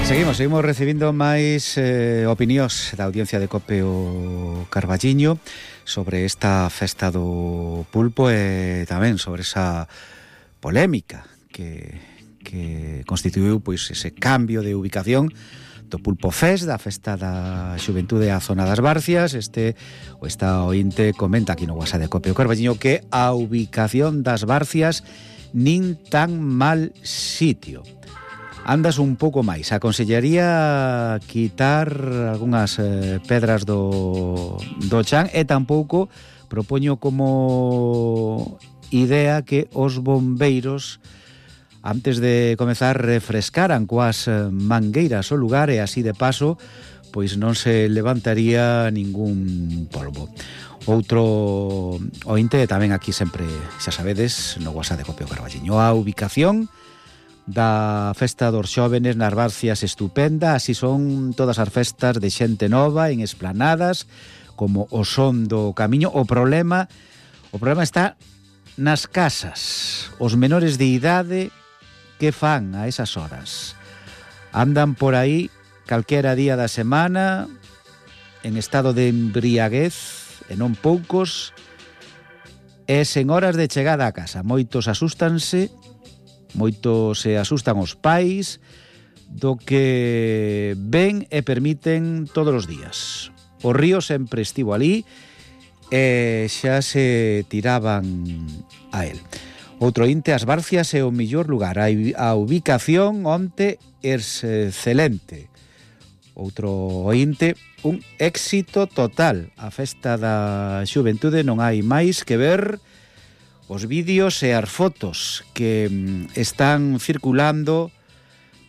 Seguimos recibindo máis opinións da audiencia de Cope o Carballiño sobre esta festa do pulpo e tamén sobre esa polémica que constituiu pois ese cambio de ubicación do Pulpo Fest, da festa da xuventude á zona das Barcias. Esta ointe comenta aquí no WhatsApp de Cope o Carballiño que a ubicación das Barcias nin tan mal sitio. Andas un pouco máis. Aconsellaría quitar algunhas pedras do chan e tampouco propoño como idea que os bombeiros antes de comezar refrescaran coas mangueiras o lugar e así de paso pois non se levantaría ningún polvo. Outro ointe tamén aquí sempre, xa sabedes, no WhatsApp de Cope o Carballiño, a ubicación da festa dos xóvenes nas Barcias estupenda, así son todas as festas de xente nova en esplanadas como o son do camiño. O problema está nas casas. Os menores de idade que fan a esas horas andan por aí calquera día da semana en estado de embriaguez e non poucos e sen horas de chegada a casa. Moitos asústanse, moitos se asustan os pais do que ven e permiten todos os días. O río sempre estivo ali e xa se tiraban a él. Outro inte, as Barcias é o mellor lugar. A ubicación onte é excelente. Outro ointe, un éxito total. A festa da xuventude non hai máis que ver os vídeos e as fotos que están circulando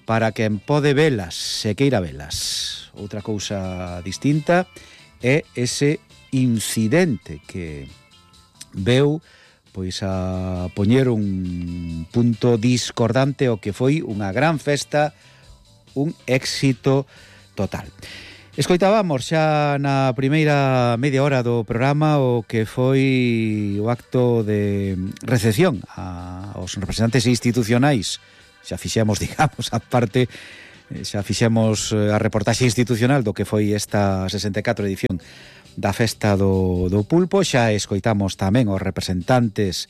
para quen pode velas, se queira velas. Outra cousa distinta é ese incidente que veu pois a poñer un punto discordante o que foi unha gran festa, un éxito total. Escoitábamos xa na primeira media hora do programa o que foi o acto de recepción aos representantes institucionais. Xa fixemos, digamos, a parte, xa fixemos a reportaxe institucional do que foi esta 64 edición da festa do pulpo. Xa escoitamos tamén os representantes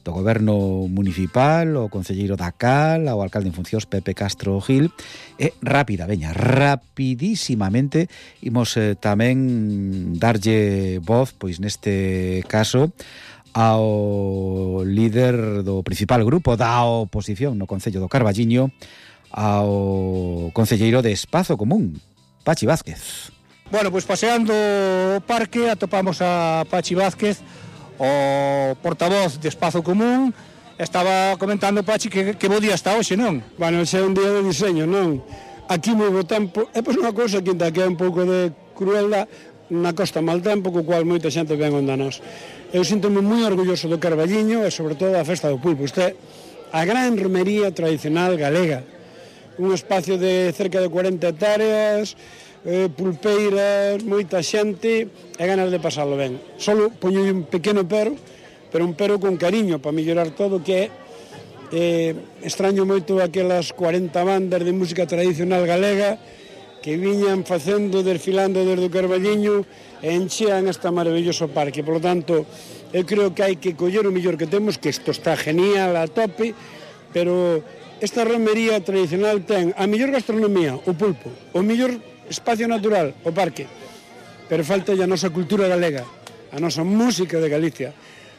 do goberno municipal, o concelleiro da Cal, o alcalde en funcións Pepe Castro Gil, e rapidísimamente imos tamén darlle voz, pois neste caso, ao líder do principal grupo da oposición no Concello do Carballiño, ao concelleiro de Espazo Común, Pachi Vázquez. Bueno, pois paseando o parque atopamos a Pachi Vázquez, o portavoz de Espazo Común. Estaba comentando Pachi que bo día está hoxe, non? Bueno, xe é un día de diseño, non? Aquí moi bo tempo, e pois unha cousa que é un pouco de crueldad, na costa mal tempo, co cual moita xente ven onda nós. Eu sinto-me moi orgulloso do Carballiño e sobre todo da festa do pulpo. Isto é a gran romería tradicional galega, un espacio de cerca de 40 hectáreas, pulpeiras, moita xente e ganas de pasarlo ben. Solo poño un pequeno pero un pero con cariño para mellorar todo, que é extraño moito aquelas 40 bandas de música tradicional galega que viñan facendo, desfilando desde o Carballiño e enchean este maravilloso parque. Por lo tanto, eu creo que hai que coller o mellor que temos, que isto está genial a tope, pero esta romería tradicional ten a mellor gastronomía, o pulpo, o mellor espacio natural, o parque, pero falta a nosa cultura galega, a nosa música de Galicia,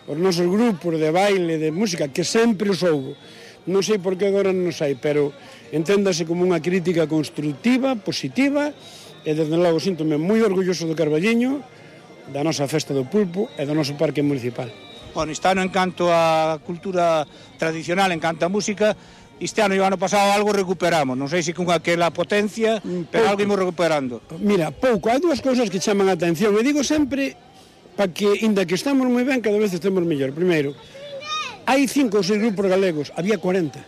os nosos grupos de baile, de música, que sempre os houbo. Non sei por que agora non os hai, pero enténdase como unha crítica constructiva, positiva, e desde logo síntome moi orgulloso do Carballiño, da nosa festa do pulpo e do noso parque municipal. Bueno, este ano, en canto a cultura tradicional, en canto a música, este ano e o ano pasado algo recuperamos, non sei se con aquela potencia, pero algo imos recuperando. Mira, pouco, hai dúas cousas que chaman a atención, e digo sempre, para que, inda que estamos moi ben, cada vez estemos mellor. Primeiro, hai 5 ou 6 grupos galegos, había 40.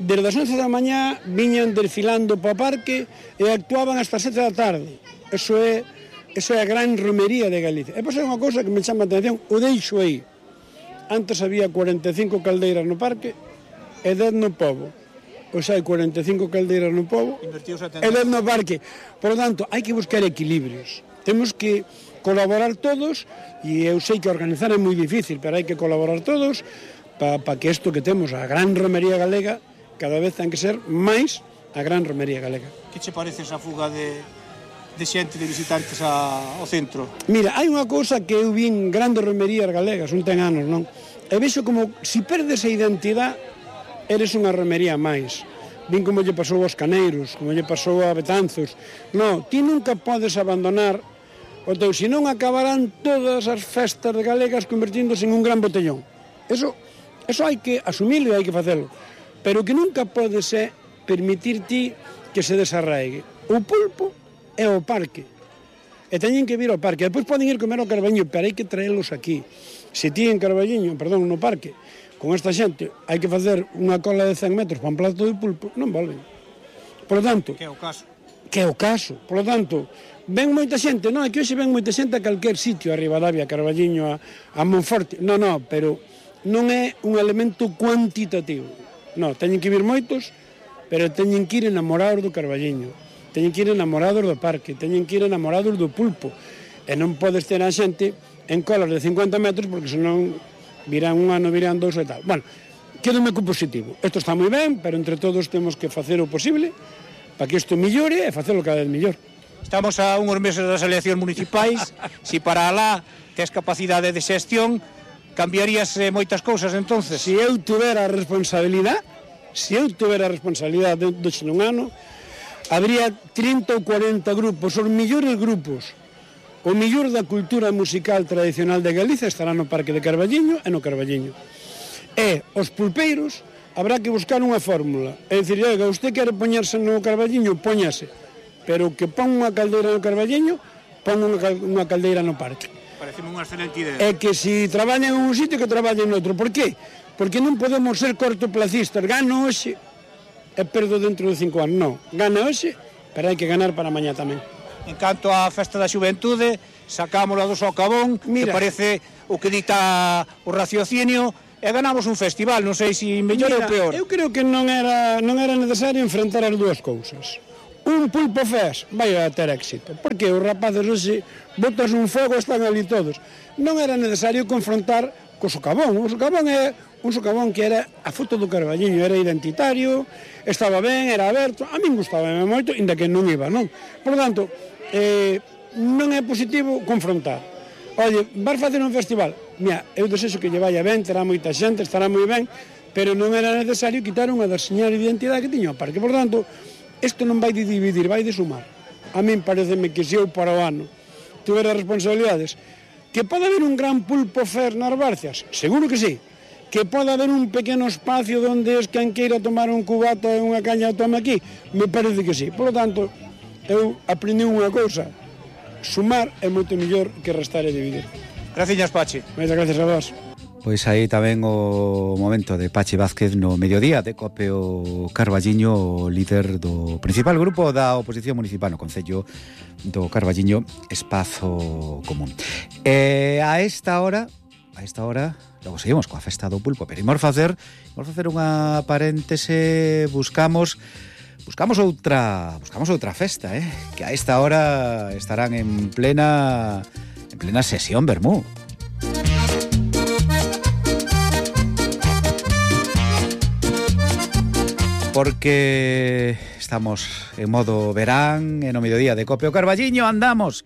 Desde as 11 da mañá viñan desfilando para o parque e actuaban hasta as 7 da tarde. Eso é a gran romería de Galicia. E pois é unha cousa que me chama a atención, o deixo aí. Antes había 45 caldeiras no parque e 10 no pobo. ou xa hai 45 caldeiras no pobo, e 10 no parque. Por lo tanto, hai que buscar equilibrios. Temos que colaborar todos, e eu sei que organizar é moi difícil, pero hai que colaborar todos para que isto que temos, a gran romería galega, cada vez ten que ser máis a gran romería galega. Que che parece esa fuga de xente, de visitantes ao centro? Mira, hai unha cousa que eu vi en grandes romerías galegas, un ten anos, non? E vexo como, se perdes a identidade, eres unha romería máis. Vin como lle pasou aos Caneiros, como lle pasou a Betanzos. Non, ti nunca podes abandonar o teu, senón acabarán todas as festas galegas convertíndose en un gran botellón. Eso hai que asumilo e hai que facelo. Pero que nunca podes permitir ti que se desarraigue. O pulpo é o parque. E teñen que vir ao parque. Depois poden ir comer ao Carballiño, pero hai que traelos aquí. Se ti en Carballiño, no parque, con esta xente, hai que facer unha cola de 100 metros para un plato de pulpo, non volven. Por lo tanto... Que é o caso. Que é o caso. Por lo tanto, ven moita xente, non, é que hoxe ven moita xente a calquer sitio, a Ribadavia, a Carballiño, a Monforte. Non, pero non é un elemento cuantitativo. Non, teñen que vir moitos, pero teñen que ir enamorados do Carballiño, teñen que ir enamorados do parque, teñen que ir enamorados do pulpo, e non podes ter a xente en colas de 50 metros, porque senón virán un ano, virán dous e tal. Bueno, quédome co positivo. Isto está moi ben, pero entre todos temos que facer o posible para que isto millore e facelo cada vez mellor. Estamos a uns meses das eleccións municipais. Si para alá tes capacidade de xestión, cambiarías moitas cousas entonces? Se eu tuvera a responsabilidade, doxe nun ano, habría 30 ou 40 grupos, os millores grupos. O millor da cultura musical tradicional de Galicia estará no Parque de Carballiño e no Carballiño. E os pulpeiros habrá que buscar unha fórmula. É dicir, oiga, usted quere poñerse no Carballiño, póñase. Pero que pon unha caldeira no Carballiño, pon unha caldeira no parque. Pareceme unha excelente idea. É que se traballan en un sitio, que traballen noutro. Por qué? Porque non podemos ser cortoplacistas. Gano hoxe e perdo dentro de 5 anos. Non, gana hoxe, pero hai que ganar para mañá tamén. En canto á festa da xuventude, sacámola do socavón, que parece o que dita o raciocinio, e ganamos un festival, non sei se mellor ou peor. Eu creo que non era necesario enfrentar as dúas cousas. Un pulpo fest vai a ter éxito, porque os rapaces hoxe botas un fogo e están ali todos. Non era necesario confrontar co socavón. O socavón é un socavón que era a foto do Carballiño, era identitario, estaba ben, era aberto, a min gustaba moito, inda que non iba, non? Por lo tanto, non é positivo confrontar. Oye, vas facer un festival? Mira, eu desexo que lle vaya ben, terá moita xente, estará moi ben, pero non era necesario quitar unha das señal de identidade que tiña o parque. Por tanto, isto non vai de dividir, vai de sumar. A min pareceme que se eu para o ano tivera responsabilidades, que pode haber un gran pulpo fer nas Barcias, seguro que sí. Que pode haber un pequeno espacio onde es quen queira tomar un cubato e unha caña tome aquí, me parece que sí. Por lo tanto, eu aprendi unha cousa, sumar é moito mellor que restar e dividir. Graciñas, Pachi. Moitas gracias a vos. Pois aí tamén o momento de Pachi Vázquez no mediodía de Cope o Carballiño, o líder do principal grupo da oposición municipal no Concello do Carballiño, Espazo Común. A esta hora, logo seguimos coa festa do pulpo, pero imos facer unha paréntese, buscamos outra festa, que a esta hora estarán en plena sesión vermú. Porque estamos en modo verán, en o mediodía de Cope o Carballiño, andamos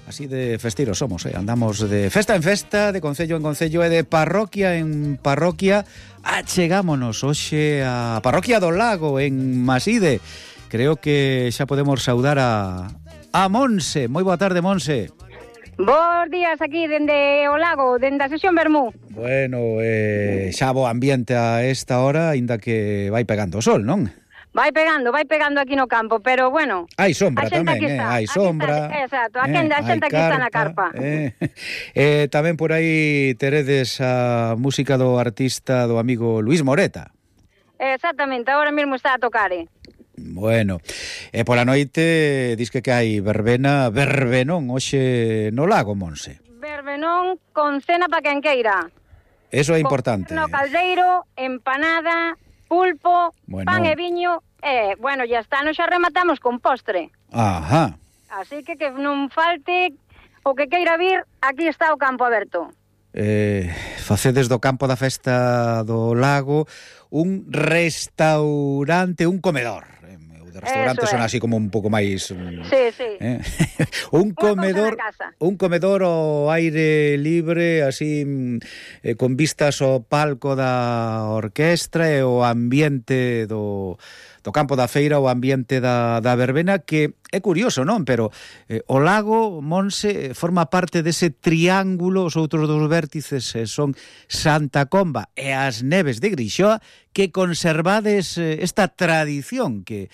así de festiros somos, andamos de festa en festa, de concello en concello e de parroquia en parroquia. Achegámonos hoxe a Parroquia do Lago en Maside. Creo que xa podemos saudar a Monse. Moi boa tarde, Monse. Bos días aquí dende o lago, dende a sesión vermú. Bueno, xa bo ambiente a esta hora, aínda que vai pegando o sol, non? Vai pegando aquí no campo, pero bueno... Hai sombra tamén, hai sombra. Exacto, a xente aquí está na carpa. Tamén por aí teredes a música do artista, do amigo Luis Moreta. Exactamente, agora mesmo está a tocar, Bueno, pola noite dis que hai verbenón hoxe no lago, Monse. Verbenón con cena pa quen queira. Eso é importante. No caldeiro, empanada, pulpo, pan e viño, bueno, ya está, nos xa rematamos con postre. Ajá. Así que non falte o que queira vir, aquí está o campo aberto. Facedes do campo da festa do lago un restaurante, un comedor. De restaurantes son así como un pouco máis... Sí. un comedor ao aire libre, así con vistas ao palco da orquestra e o ambiente do campo da feira, o ambiente da verbena, que é curioso, non? Pero o lago, Monse, forma parte dese triángulo, os outros dos vértices son Santa Comba e as Neves de Grixoa, que conservades esta tradición que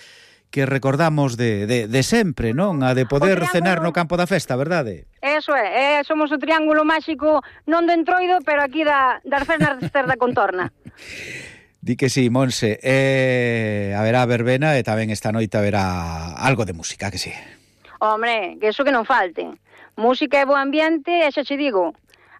recordamos de sempre, non? A de poder cenar no campo da festa, verdade? Eso é, somos o triángulo máxico non do Entroido, pero aquí das festas da contorna. Di que sí, Monse, haberá verbena e tamén esta noite haberá algo de música, que sí? Hombre, que eso que non falte. Música e bo ambiente, e xa che digo,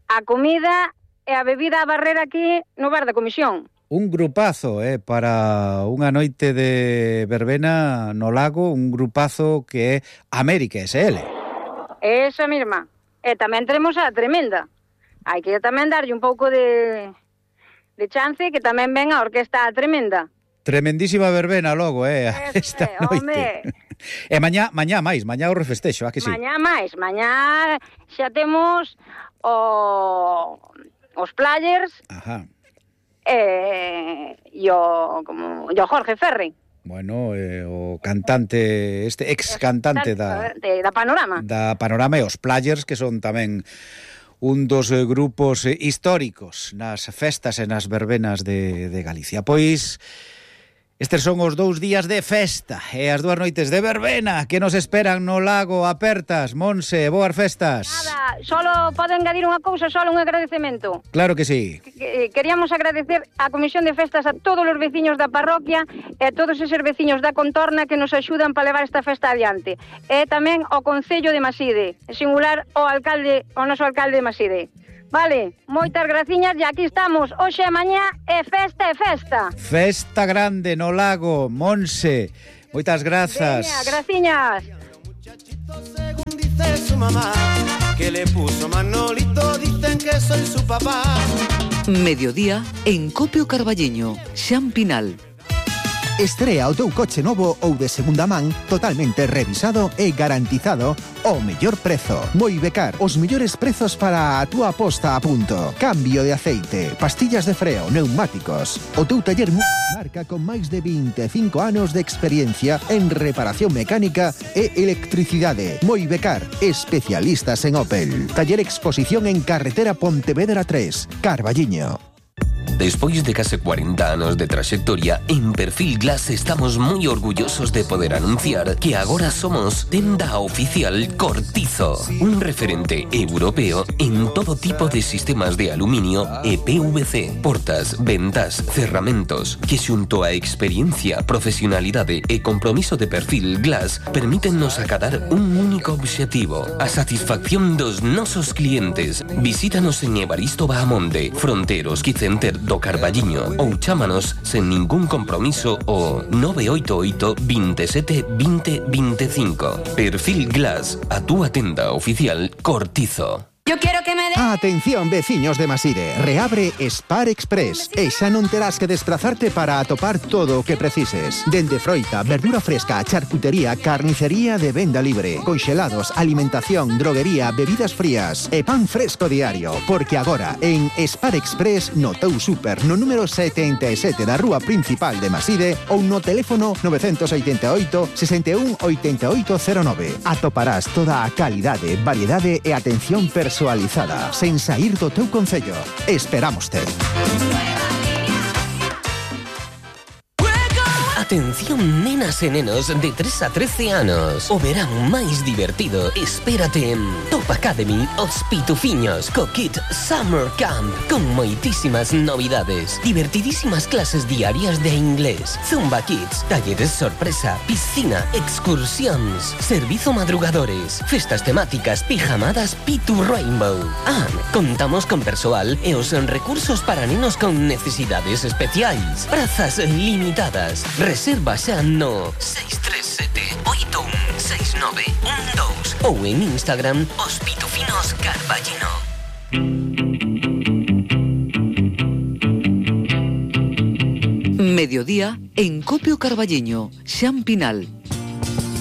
a comida e a bebida a barrera aquí no bar da comisión. Un grupazo, para unha noite de verbena no lago, un grupazo que é América SL. Esa mesma. E tamén teremos a Tremenda. Hai que tamén darlle un pouco de chance que tamén ven a orquesta Tremenda. Tremendísima verbena logo, esta noite. E mañá o refestexo, a que sí? Mañá xa temos os players. Ajá. E o Jorge Ferri. Bueno, o cantante, ex cantante da Panorama. Da Panorama e os Players, que son tamén un dos grupos históricos nas festas e nas verbenas de Galicia. Pois estes son os 2 días de festa e as 2 noites de verbena que nos esperan no lago apertas. Monse, boas festas. Nada, solo podo engadir unha cousa, solo un agradecemento. Claro que sí. Queríamos agradecer á Comisión de Festas, a todos os veciños da parroquia e a todos eses veciños da contorna que nos axudan para levar esta festa adiante. E tamén ao Concello de Maside, en singular o noso alcalde de Maside. Vale, moitas graciñas e aquí estamos, hoxe e mañá é festa. Festa grande no lago, Monse. Moitas grazas. Veña, graciñas. Según dice su mamá, que le puso Manolito, dicen que soy su papá. Mediodía en Copio Carballiño, Xan Pinal. Estrea o teu coche novo ou de segunda man totalmente revisado e garantizado ao mellor prezo. Moibecar, os mellores prezos para a túa posta a punto. Cambio de aceite, pastillas de freo, neumáticos. O teu taller marca con máis de 25 anos de experiencia en reparación mecánica e electricidade. Moibecar, especialistas en Opel. Taller Exposición en Carretera Pontevedra 3, Carballiño. Despois de case 40 anos de traxectoria, en Perfil Glass estamos moi orgullosos de poder anunciar que agora somos tenda oficial Cortizo, un referente europeo en todo tipo de sistemas de aluminio e PVC, portas, ventas, cerramentos, que xunto a experiencia, profesionalidade e compromiso de Perfil Glass permítennos acadar un único obxectivo, a satisfacción dos nosos clientes. Visítanos en Evaristo Bahamonde, Fronteros Quicenter do Carballiño ou chámanos sen ningún compromiso o 988 27 20 25. Perfil Glass, a túa tenda oficial Cortizo. Yo quiero que me dé... Atención, veciños de Maside, reabre Spar Express e xa non terás que desplazarte para atopar todo o que precises. Dende froita, verdura fresca, charcutería, carnicería de venda libre, conxelados, alimentación, droguería, bebidas frías e pan fresco diario. Porque agora, en Spar Express, no teu super, no número 77 da rúa principal de Maside ou no teléfono 988 61 8809. Atoparás toda a calidade, variedade e atención personalizada sen sair do teu concello. Esperámoste. Atención nenas e nenos de 3 a 13 anos. O verán máis divertido espérate en Top Academy Os Pitufiños co kit Summer Camp con moitísimas novidades, divertidísimas clases diarias de inglés, Zumba Kids, talleres sorpresa, piscina, excursións, servizo madrugadores, festas temáticas, pijamadas Pitu Rainbow. Contamos con persoal e os recursos para nenos con necesidades especiais. Prazas limitadas. Reserva xa no 637-816912 ou en Instagram Os Pitufinos Carballino. Mediodía en Copio Carballiño, Xampinal.